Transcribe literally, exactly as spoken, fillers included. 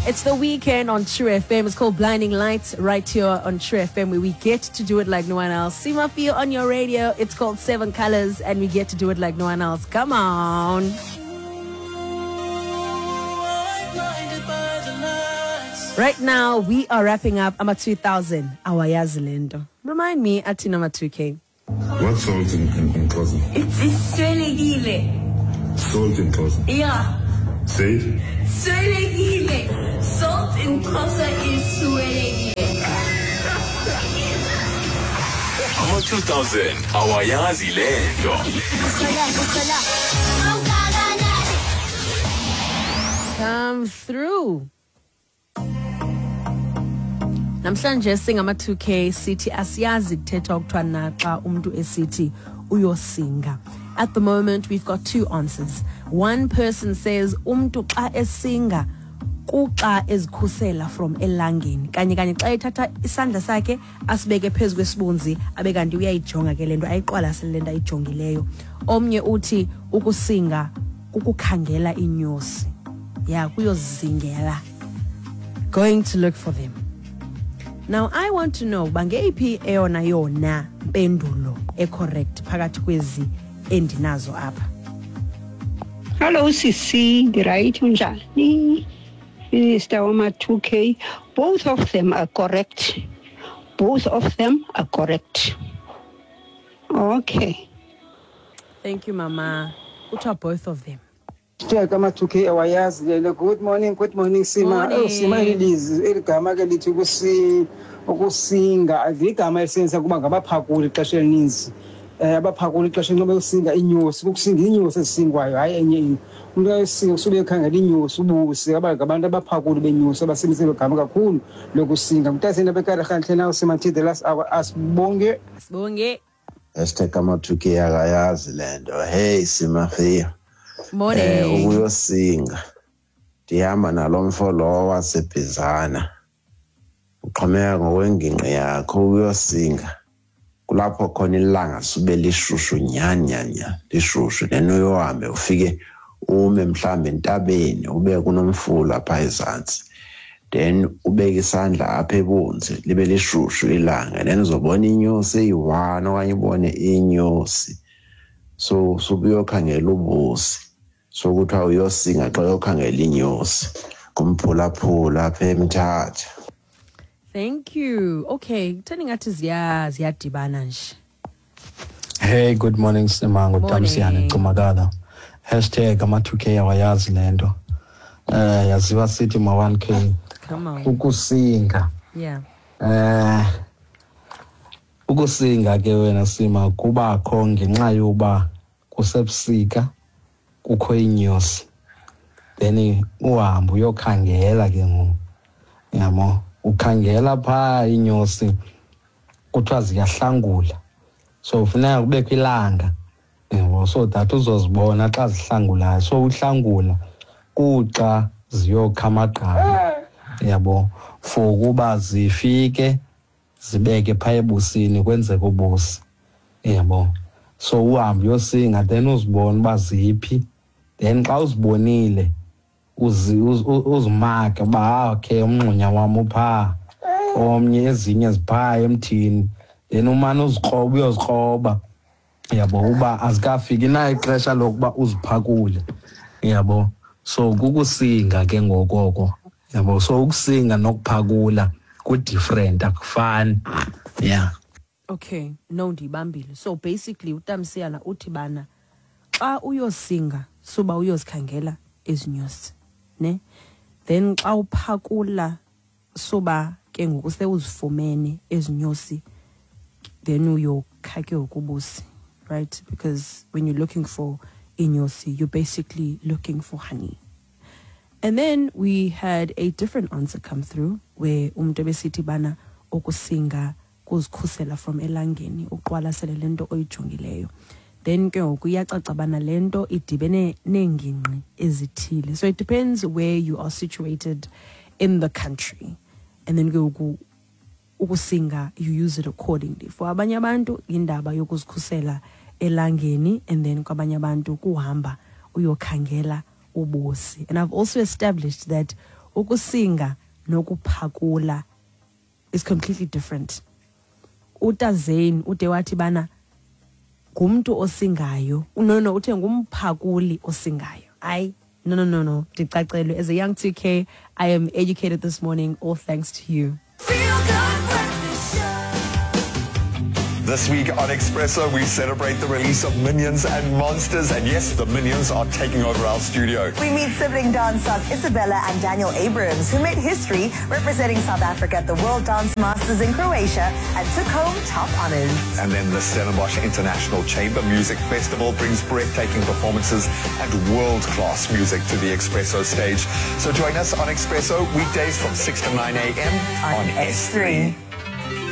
It's the weekend on True F M. It's called Blinding Lights right here on True F M, where we get to do it like no one else. Sima Fio on your radio. It's called Seven Colors, and we get to do it like no one else. Come on. Right now, we are wrapping up Ama two thousand. Awayazi lento. Remind me, ati number two K. What's salt in, in, in Xhosa? It's iswelekile. Salt in Xhosa? Yeah. Say it. Swelekile. Salt in Xhosa is swelekile. Ama two thousand. Awayazi lento. Come through. Namhlanje singama two K sithi asiyazi kuthethwa kuthiwa na xa umuntu esithi uyosinga. At the moment we've got two answers. One person says umntu xa esinga kuxa ezikhusela from elangeni. Kanye kanye xa ethatha isandla sakhe asibeke phezu kwesibunzi abe kanti uyayijonga ke lento ayiqwalasele lento ayijongileyo. Omnye uthi ukusinga kukukhangela inyosi. Yeah, kuyozingela. Going to look for them. Now I want to know bangeyiphi eyona yona mpendulo ecorrect phakathi kwezi endinazo apha. Hello Sisi, right unjani? Minister Oma two K, both of them are correct. Both of them are correct. Okay. Thank you mama. Kuthiwa both of them. Ama two K awayazi lelo. Good morning, good morning Sima. Oh Sima ilizwi eligama ke lithi ukusi ukusinga igama elisenza kuba ngabaphakuli ixesha elininzi. Eh abaphakuli ixesha ngoba usinga inyosi, ukusinga inyosi esingwayo hayi enye into. Umuntu ayosinga usube ekhangela inyosi ubusi aba ngabantu abaphakuli benyosi abasebenzisa igama kakhulu lokusinga. Mntaseni abekare nawo Sima the last hour asibonge. Asibonge. Hashtag ama two K akayazi lento. Hey Sima Fia. Morning. Eh ukuyosinga ndihamba nalomfo lo wasebhizana uxhomeka ngokwengingqi yakho uyosinga kulapho khona ilanga sube lishushu nyani nyani lishushu then uyohambe ufike ume mhlambe entabeni ube kunomfula pha ezantsi then ubeke isandla apha ebunzi libe lishushu ilanga then uzobona inyosi eyi-one okanye ubone inyosi so subuyokhangela ubusi so kuthiwa uyosinga xa uyokhangela inyosi kumphulaphula apha eMthatha. Thank you. Okay, turning ngathi ziya ziyadibana nje. Hey, good morning Simango Tamsiyane Cumakala. Hashtag ama two K awayazi lento. Eh yaziwa sithi ma one K. Come on. Ukusinga. Yeah. Eh ukusinga ke wena Sima kubakho ngenxa yoba kusebusika kukho inyosi then uhambe uyokhangela ke ngoku yabo ukhangela pha inyosi kuthiwa ziyahlangula so ufuneka kubekho ilanga yabo so that uzozibona xa zihlangulayo so uhlangula kuxa ziyokha amagqabi yabo for ukuba zifike zibeke pha ebusini kwenzeke ubusi yabo so uhambe uyosinga then uzibone uba ziphi then xa uzibonile uzi uzimake uba okay umngxunya wam upha omnye ezinye zipha emthini then umane uzikroba uyozikroba yabo uba azikafiki na ixesha lokuba uziphakule yabo so kukusinga ke ngokoko yabo so ukusinga nokuphakula ku different akufani. Yeah. Okay, no ndibambile. So basically uTamsiyana uthi bana xa uyosinga suba uyozikhangela ezinyosi ne then xa uphakula suba ke ngoku sewuzifumene ezinyosi then uyokha ke ukubusi, right? Because when you're looking for inyosi you're basically looking for honey. And then we had a different answer come through where umuntu ebesithi bana okusinga kuzikhusela from elangeni uqwalasele lento oyijongileyo then ke ngoku iyacaca bana lento idibene neengingqi ezithile. So it depends where you are situated in the country and then ke ngoku ukusinga you use it accordingly. For abanye abantu indaba yokuzikhusela elangeni and then kwabanye abantu kuhamba uyokhangela ubusi. And I've also established that Ukusinga nokuphakula is completely different. Utazane ude wathi bana ngumntu osingayo. No no uthe ngumphakuli osingayo. Hayi, no no no no ndicacelwe. As a young two K, I am educated this morning, all thanks to you. This week on Expresso, we celebrate the release of Minions and Monsters. And yes, the Minions are taking over our studio. We meet sibling dancers Isabella and Daniel Abrams, who made history representing South Africa at the World Dance Masters in Croatia and took home top honors. And then the Stellenbosch International Chamber Music Festival brings breathtaking performances and world-class music to the Expresso stage. So join us on Expresso weekdays from six to nine a m on S three.